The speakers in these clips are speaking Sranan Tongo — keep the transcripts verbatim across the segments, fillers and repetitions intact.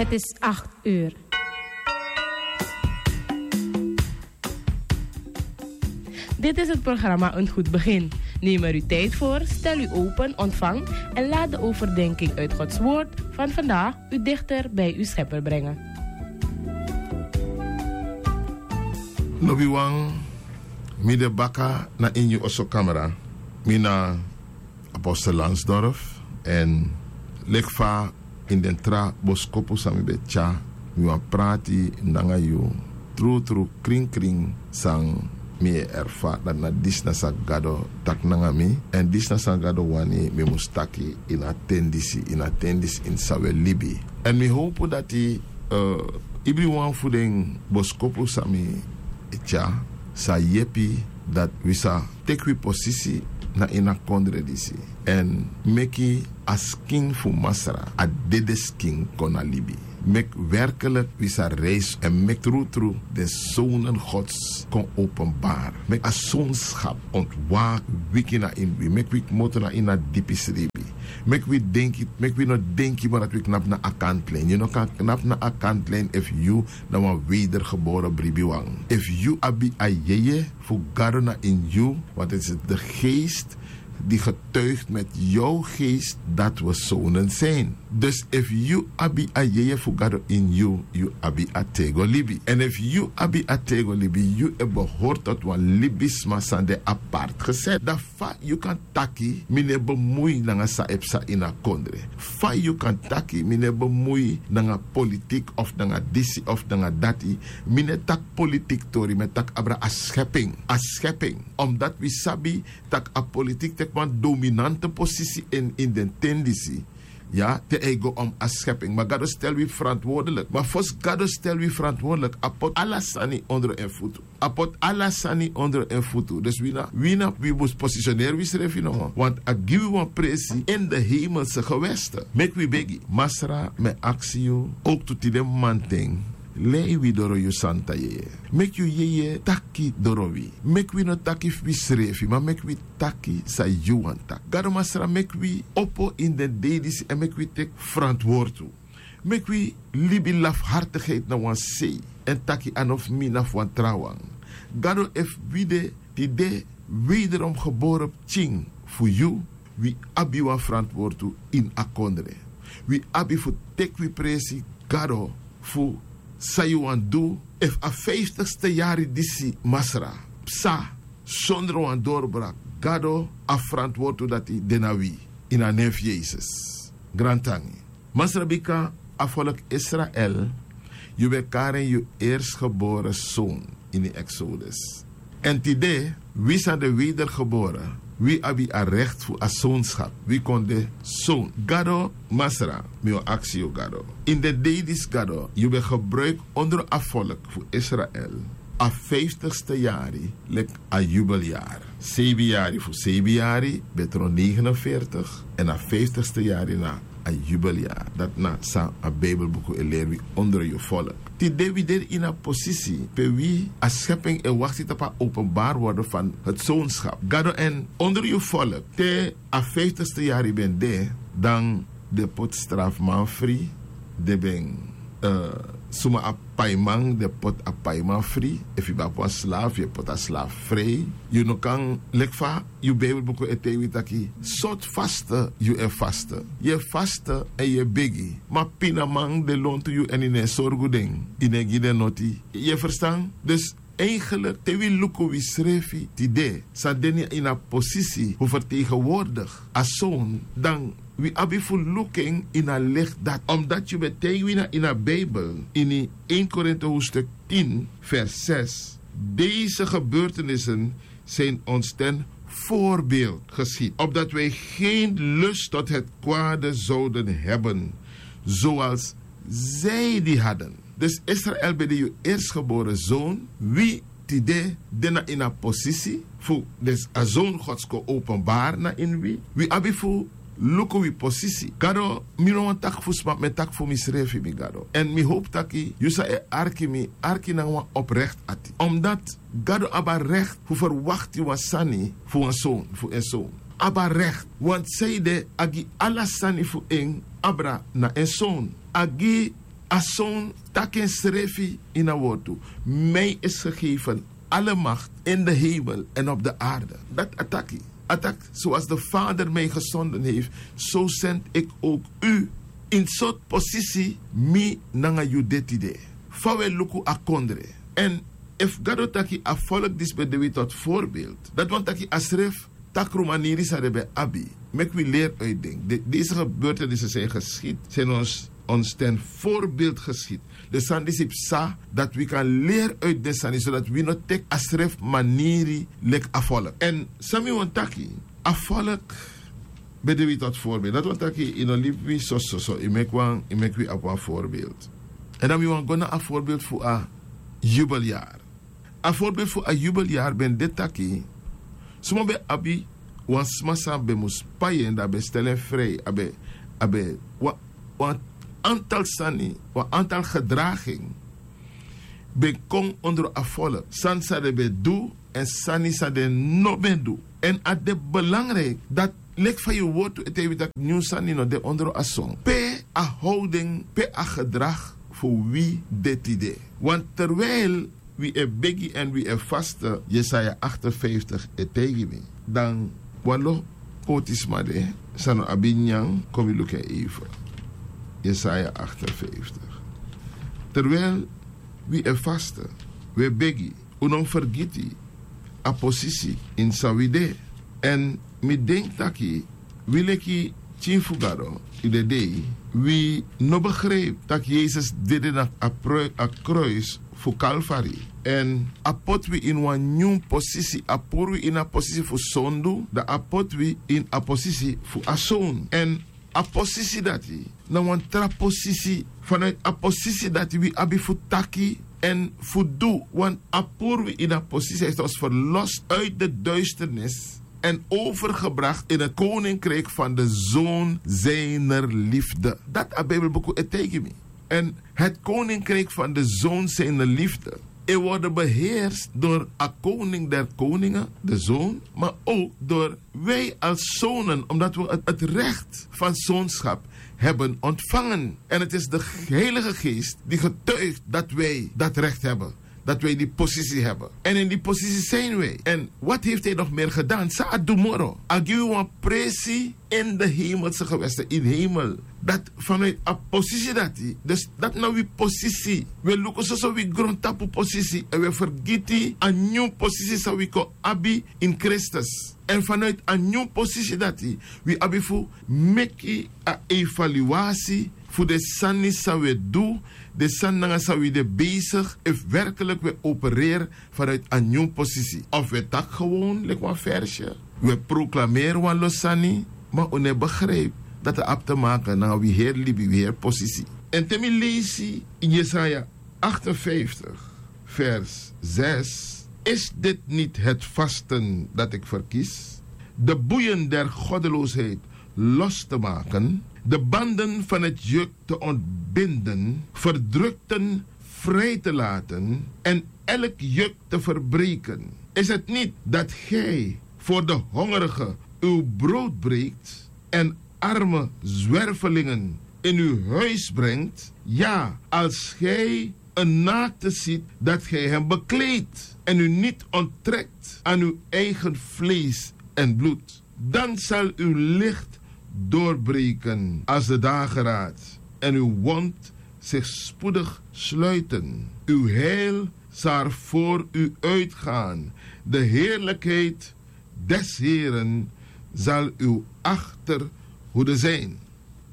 Het is acht uur. Dit is het programma Een Goed Begin. Neem er uw tijd voor, stel u open, ontvang en laat de overdenking uit Gods Woord van vandaag u dichter bij uw Schepper brengen. Lobiwan, mi de baka na ini yu oso kamra. Mi na Apostel Lansdorf, èn leki fa ini den tra boskopu san mi ben tyari, mi wani prati nanga yu trutru, krinkrin san mi e erfari, dati na disi na san Gado taki nanga mi, èn disi na san Gado wani mi mus taki ini a ten disi, ini a ten disi ini san wi e libi. Èn mi howpu dati, eh, ibriwan fu den boskopu san mi e tyari sa yepi dati wi sa teki wi posisi na ini a kondre disi, èn meki a skin fu Masra, a dede skin, kon na libi. Meki werkelijk wi sa reisi èn meki trutru den zonen Gods kon openbaar. Meki a zoonschap ontwaak wiki na ini wi. Meki wi kmoto na ini a dipi sribi. Meki wi denki, meki wi no denki moro dati wi knapu na a kantlijn. Yu no kan knapu na a kantlijn efu yu na wan wedergeboren bribiwan. Efu yu abi a yeye fu Gado na ini yu, want het is de geest die getuigt met jouw geest dat we zonen zijn. Dus efu yu abi a yeye fu Gado ini yu, yu abi a tego libi. Èn efu yu abi a tego libi, yu e behoort tot wan libisma san de apart gezet. Dan fa yu kan taki mi no e bemui nanga san e psa ini a kondre? Fa yu kan taki mi no e bemui nanga politik of nanga disi of nanga dati? Mi no e taki politik tori, mi e taki abra a schepping. A schepping. Omdat wi sabi tak' a politik teki wan dominante posisi in, in den ten disi. Ya, te a e go om a schepping. Ma Gado stel wi verantwoordelijk. Ma fosi Gado stel wi verantwoordelijk, a poti ala sani ondro en futu. A poti ala sani ondro en futu. Dus wi na, wi na, wi mus positioneri wisrefi nomo. Want a gi wi wan presi in de hemelse gewesten. Meki wi begi. Masra, mi e aksi yu, ook tu tide mamanten, lei wi doro yu santa yeye. Meki yu yeye taki doro wi. Meki wi no taki fu wisrefi, ma meki wi taki san yu wani taki. Gado Masra, meki wi opo ini den dei disi èn meki wi teki verantwoord tu. Meki wi libi lafhartigheid na wan sei èn taki a no fu mi, na fu wan trawan. Gado, efu wi de tide wederom geboren pikin fu yu, wi abi wan verantwoord tu ini a kondre. Wi abi fu teki wi presi, Gado, fu san yu wani du. Efu a vijftigste yari disi, Masra, psa sondro wan dorbrak, Gado, a verantwoord tu dati de na wi. Ini a nen fu Yesus. Grantangi. Masra, bika a volk Israel, yu ben kari en yu eerstgeboren zoon ini Exodus. Èn tide, wi san de wedergeboren, wi abi a recht fu a zoonschap. Wi kon de zoon. Gado Masra, mi o aksi yu, Gado. Ini den dei disi, Gado, yu ben gebruik ondro a volk fu Israel a vijftigste yari leki a jubeljaar. Sebi yari fu sebi yari ben tron negenenveertig, èn a vijftigste yari na a jubeljaar. Dati na san a Bijbelbuku e leri wi ondro yu volk. Tide wi de ini a posisi pe wi, a schepping, e wakti tapu a openbaar worden van het zoonschap. Gado, èn ondro yu volk, te a vijftigste yari ben de, dan den poti strafman fri, den ben, eh, suma a paiman, den poti a paiman fri. Efu yu ben abi wan slaaf, yu e poti a slaaf vrij. Yu no kan, leki fa yu Bijbelbuku e taigi wi taki, sortu vaste yu e vaste. Yu e vaste èn yu e begi. Ma pinaman de lontu yu èn yu no e sorgu den. Yu no e gi den noti. Yu e verstan? Dus eigenlijk, te wi luku wisrefi tide, san de ini a posisi fu vertegenwoordig a zoon, dan wi abi fu luku en ini a licht dati. Omdat yu ben taigi wi na ini a Bijbel, ini één Korinthe hoofdstuk tien, vers zes. Deze gebeurtenissen zijn ons ten voorbeeld geschied, opdat wij geen lust tot het kwade zouden hebben, zoals zij die hadden. Dus Israel ben de yu eerstgeboren zoon, wi tide de na ini a posisi fu, dus a zoon Gods kon openbaar na ini wi. Wi abi fu luku wi posisi. Gado, mi no wani taki fu sma, mi e taki fu misrefi, mi Gado. Èn mi howpu taki yu san e arki mi, arki nanga wan oprecht ati. Omdat Gado abi a recht fu verwakti wan sani fu wan zoon, fu en zoon. Abi a recht, want sanede a gi ala sani fu en abra na en zoon. A gi A son taki ensrefi ini a wortu: mij is gegeven alle macht in de hemel en op de aarde. Dati a taki. A taki: zoals de vader mij gezonden heeft, zo zend ik ook u. Ini sortu posisi mi nanga yu de tide? Fa wi e luku a kondre? Èn efu gado taki a folku disi ben de wi toti voorbeeld, dati wani taki a srefi takru maniri san den ben abi. Meki wi leri uitu den. Deze gebeurtenisi san e geskidi san e no ons ten voorbeeld geskidi. Den sani disi psa dati wi kan leri uitu den sani sodati wi no teki a srefi maniri leki a folku. Èn san mi wani taki, a folku ben de wi toti voorbeeld. Dati wani taki yu no libi wi sososo, yu meki wan yu meki wi abi wan voorbeeld. Èn dan mi wani go na a voorbeeld fu a yubeljari. A voorbeeld fu a yubeljari ben de taki suma ben abi wan sma san ben mus pai en dan a ben stel en frei, a ben a ben wan antal sani, wan antal gedraging ben kon ondro a folku, sani san den ben du èn sani san den no ben du. Èn a de belangriki dati leki fa yu wortu e taigi wi tak' nyun sani no de ondro a son. Pe a howden, pe a gedrag fu wi de tide? Want terwijl wi e begi èn wi e faste, Jesaja achtenvijftig e taigi mi. Dan wan lo poti sma de san no abi nyan, kon wi luku en even. Jesaja achtenvijftig. Terwijl wi e faste, wi e begi, un no mus fergiti a posisi ini san wi de. Èn mi denki taki wi leki pikin fu gado, yu de dei, wi no begripi tak' yesus dede na a kruis fu kalfari. Èn a poti wi ini wan nyun posisi, a puru wi ini a posisi fu sondu, dan a poti wi ini a posisi fu a son. Èn a posisi dati na wan tra posisi. Vanuiti a posisi dati wi abi fu taki èn fu du, want a puru wi ini a posisi, a isi tos ferlosi uiti de duisternis èn overgebrakt ini a koninkriki fan de zoon zijner lifde. Dati a bibelbuku e taigi mi. Èn het koninkriki fan de zoon zijner lifde e worden beheerst dori a koning der koningen, de zoon, maar ook dori wi als zonen, omdat wi het rekt van zoonschap hebben ontvangen. Èn het is de heilige geest die getuigt dat wi dat rekt hebben, dat wi die posisi hebben. Èn ini di posisi seni wi. Èn wati hefti en nog meri gedan san a du moro? A gi wi wan presi ini de hemelse gewesten ini hemel. Dati fanuiti a posisi dati dus dati na wi posisi. Wi e luku soso wi grontapu posisi èn wi e fergiti a nyun posisi san wi kon abi ini kristus. Èn fanuiti a nyun posisi dati wi abi fu meki a evaluasi fu den sani san wi e du, den sani nanga san wi de besigi, efu werkeliki wi e opereri fanuiti a nyun posisi of wi e taki gewon leki wan fersye, wi e proklameri wan lo sani, ma un no e begripi dati a abi te maken nanga wi heri libi, wi heri posisi. Èn te mi leisi ini yesaya achtenvijftig vers zes: is dit niet het vasten dat ik verkies, de boeien der goddeloosheid los te maken, de banden van het juk te ontbinden, verdrukten vrij te laten en elk juk te verbreken? Is het niet dat gij voor de hongerigen uw brood breekt en arme zwervelingen in uw huis brengt? Ja, als gij een naakte ziet, dat gij hem bekleedt en u niet onttrekt aan uw eigen vlees en bloed. Dan zal uw licht doorbreken als de dageraad en uw wond zich spoedig sluiten. Uw heil zal voor u uitgaan. De heerlijkheid des Heren zal uw achterhoede zijn.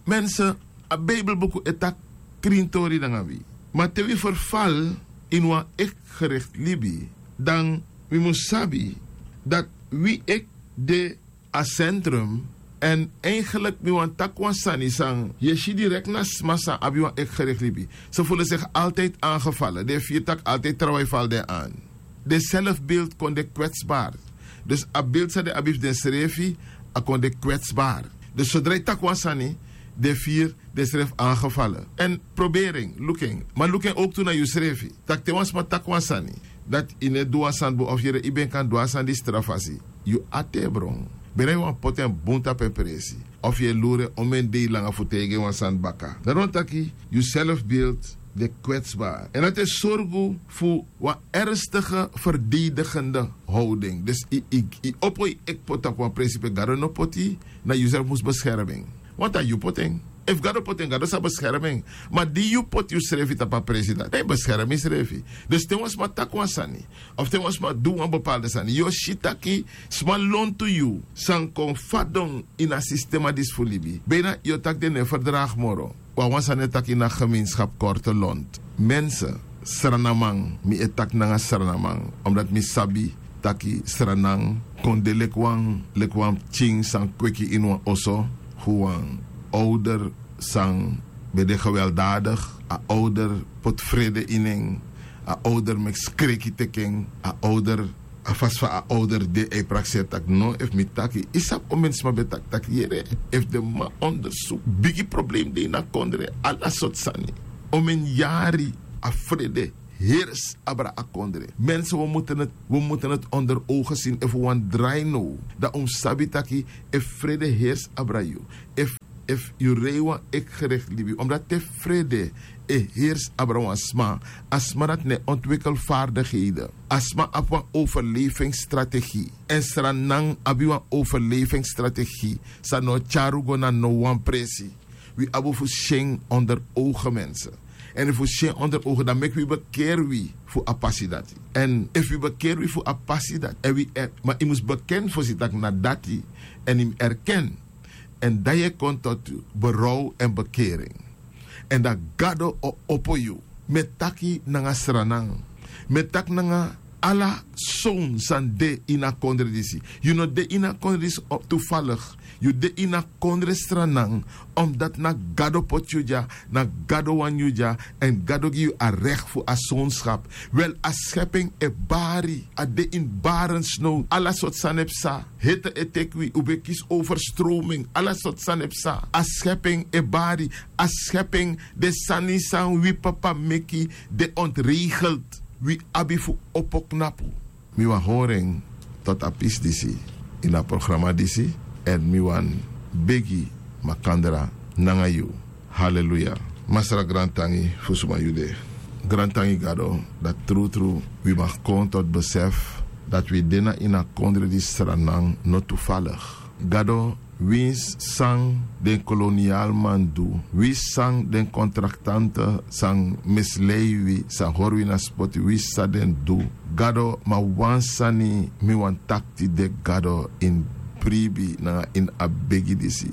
Mensen, a bibelbuku e taki krintori nanga wi. Ma te wi verval ini wan ekgerikti libi, dan wi mus sabi dati wi ek de a sentrum. Èn eigenlik mi wani taki wan sani san yu e si direkti na sma san abi wan ekgerikti libi. Se fulu segi altijdi angefale den e firi tak' altijdi trawan e fali den an. Den selfbeeld kon de kwetsbari. Dus a beeld san den abi fu densrefi a kon de kwetsbari. Dus sodra yu taki wan sani den e firi densrefi angefale. Èn proberi en luku en, ma luku en owktu na yusrefi, tak' te wan sma taki wan sani dati yu no e du wan sani bun of yere yu ben kan du a sani disi tra fasi, yu ati e bron. Bere yu wani poti en bun tapu en presi. Of yu e luru en omen dei langa fu taigi en wan sani baka. Dati wani taki yu selfbeeld de kwetsbari èn dati e sorgu fu wan ernstige ferdedigende howding. Dus yu opo yu ekpo tapu wan presi pe gado no poti, na yu srefi mus beskermi en. Wanta yu poti en. Efu gado poti en gado sa beskermi en. Ma di yu poti yusrefi tapu a presi dati dan yu beskermi yusrefi. Dus te wan sma taki wan sani of te wan sma du wan bepalde sani yu o si taki sma lontu yu san kon fadon ini a sistema disi fu libi bina yu o taki den no e ferdragi moro. Wan wan sani e taki ini a gemeenskap korte lont. Mense, sranaman, mi e taki nanga sranaman omdati mi sabi taki sranan kon de leki wan leki wan pikin san kweki ini wan oso fu wan owder san ben de geweldadigi. A owder poti frede ini en. A owder meki skreki teki en. A owder a fasi fa a owder de a e prakseri tak' no efu mi taki yu sabi omeni sma ben taki tak' yere efu den man ondersuku bigi problema de ini a kondre ala sortu sani. Omeni yari a frede hersi abra a kondre. Mense wi mutu neti onder ogen sini efu wi wani drai now dan un mus sabi taki efu frede hersi abra yu efu yu rei wan ekgerekti libi omdati te frede e hersi abra wan sma a sma dati na e ontwikel fardigheden. A sma abi wan overlevingsstrategie èn sranan abi wan overlevingsstrategie san no o tyari un go na no wan presi. Wi abi un fu si en onder ogen mense èn efu wi si en onder ogen dan meki wi bekeri wi fu a pasi dati. Èn efu wi bekeri wi fu a pasi dati èn wi erkeni ma yu mus bekeni fosi tak' na dati èn yu mus erkeni èn dan yu e kon toti berow èn bekering. Èn dan gado o opo yu. Mi e taki nanga sranan mi e taki nanga ala sown san de ini a kondre disi. Yu no de ini a kondre disi tufaligi. Yu de ini a kondre sranan omdati na gado poti yu dya na gado wani yu dya èn gado gi yu a rekti fu a sownskap. Wel a skeping e bari a de ini barensnow ala sortu sani e psa. Hete e teki wi un ben kisi overstroming ala sortu sani e psa a skeping e bari. A skeping den sani san wi papa meki de ontregelt. Wi abi fu opo knapu. Mi wani hori en toti a pisi disi ini a programa disi èn mi wani begi makandra nanga yu. Haleluya. Masra grantangi fu suma yu de. Grantangi gado dati trutru wi maki kon toti besefi dati wi de na ini a kondre disi sranan no tufaligi. Gado winsi san den kolonialman du winsi san den kontraktante san mislei wi san hori wi na spoti winsi san den du. Gado ma wan sani mi wani taki tide gado ini bribi nanga ini a begi disi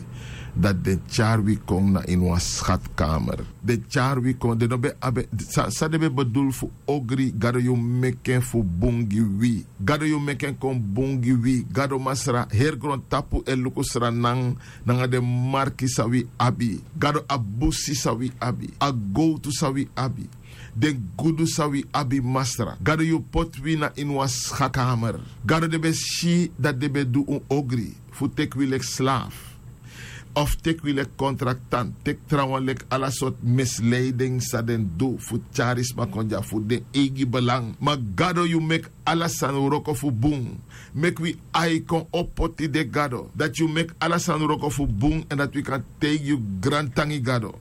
dati den tyari wi kon na ini wan skatkamer. Den tyari wi kon den no ben abi san den ben bedul fu ogri gado yu meki en fu bun gi wi. Gado yu meki en kon bun gi wi gado masra heri grontapu e luku sranan nanga den marki san wi abi. Gado a busi san wi abi a gowtu san wi abi den gudu san wi abi masra gado yu poti wi na ini wan skakamer. Gado den ben si dati den ben du un ogri fu teki wi leki slafu of teki wi leki kontraktanti teki trawan leki ala sortu misleiding san den du fu tyari sma kon dya fu den eigi belang ma gado yu meki ala sani wroko fu bun. Meki wi ai kon opo tide gado dati yu meki ala sani wroko fu bun èn dati wi kan taigi yu grantangi gado.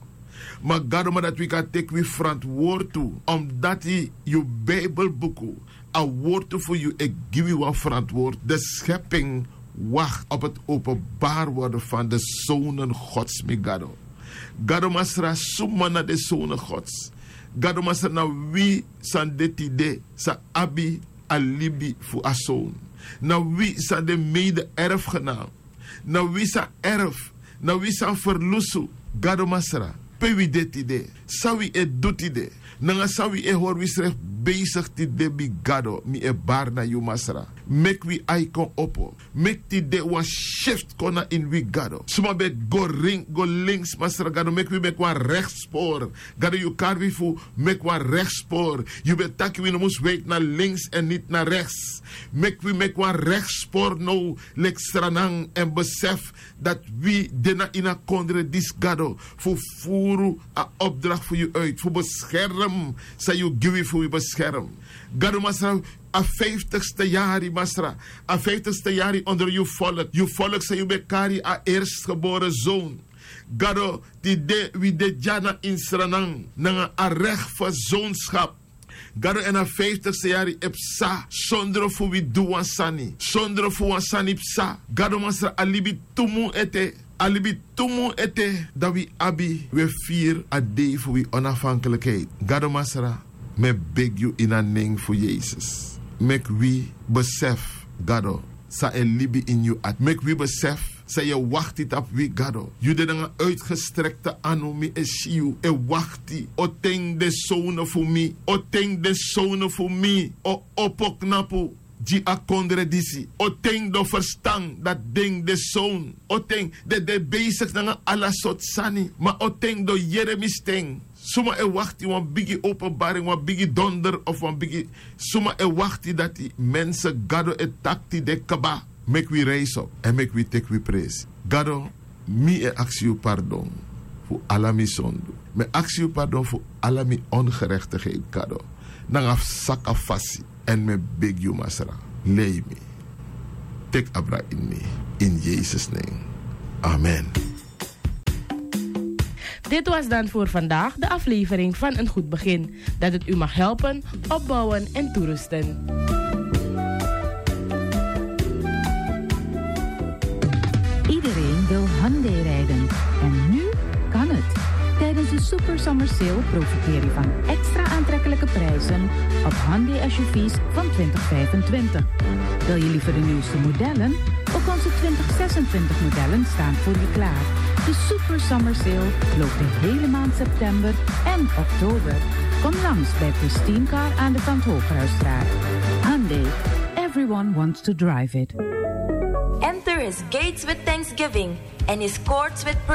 Ma gado ma dati wi kan teki wi frantwortu omdati yu bibelbuku a wortu fu yu e gi wi wan frantwortu de skeping wakti op eti openbari worden fan de sonen gods mi gado. Gado masra suma na den sonen gods. Gado masra na wi san de tide san abi a libi fu a sown. Na wi san de mede erfgenam na wi san erf na wi san ferlusu. Gado masra pe wi de tide san wi e du tide nanga san wi e hori wisrefi besigi tide mi gado mi e bari na yu masra. Meki wi ai kon opo meki tide wan sifti kon na ini wi gado suma ben go ring go links masra gado meki wi meki wan rekti spori. Gado yu kari wi fu meki wan rekti spori. Yu ben taki wi no mus weiti na links èn niti na rekti. Meki wi meki wan rekti spori now leki sranan èn besefi dati wi de na ini a kondre disi gado fu furu a opdrakti fu yu uiti fu beskerm san yu gi wi fu wi. beskerm. Gado Masra, a vijftigste yari, Masra, a vijftigste yari onder yu volk, yu volk san yu ben kari, a eerstgeboren zoon. Gado, tide wi de dya na ini Sranan nanga a recht fu zoonschap. Gado, èn a vijftigste yari e psa sondro fu wi du wan sani, sondro fu wan sani psa. Gado Masra, a libi tu mun ete, a libi tu mun ete, dan wi abi, wi e firi a dei fu wi onafhankelijkheid. Gado Masra, mi e begi yu ini a nen fu Yesus, meki wi besefi, Gado, san e libi ini yu ati. Meki wi besefi san yu e wakti tapu wi, Gado. Yu de nanga uitgestrekte anu, mi e si yu e wakti. O ten den sownu fu mi, o ten den sownu fu mi o opo knapu gi a kondre disi. O ten den o ferstan dati den de sownu. O ten den de besigi nanga ala sortu sani, ma o ten den o yere mi sten. Suma e wakti wan bigi openbaring, wan bigi donder of wan bigi, suma e wakti dati mense, Gado e taki tide kaba. Meki wi reisi op èn meki wi teki wi presi. Gado, mi e aksi yu pardon fu ala mi sondu. Mi e aksi yu pardon fu ala mi ongerechtigheid, Gado, nanga saka fasi. Èn mi e begi yu, Masra, lei mi. Teki abra ini mi, in Yesus nen. Amen. Dit was dan voor vandaag de aflevering van Een Goed Begin. Dat het u mag helpen, opbouwen en toerusten. Iedereen wil Hyundai rijden. En nu kan het. Tijdens de Super Summer Sale profiteer je van extra aantrekkelijke prijzen op Hyundai S U V's van twintig vijfentwintig. Wil je liever de nieuwste modellen? Ook onze twintig zesentwintig modellen staan voor je klaar. De Super Summer Sale loopt de hele maand september en oktober. Kom langs bij Pristine Car aan de Van Hoogkruisstraat. Hyundai, everyone wants to drive it. Enter his gates with thanksgiving and his courts with praise.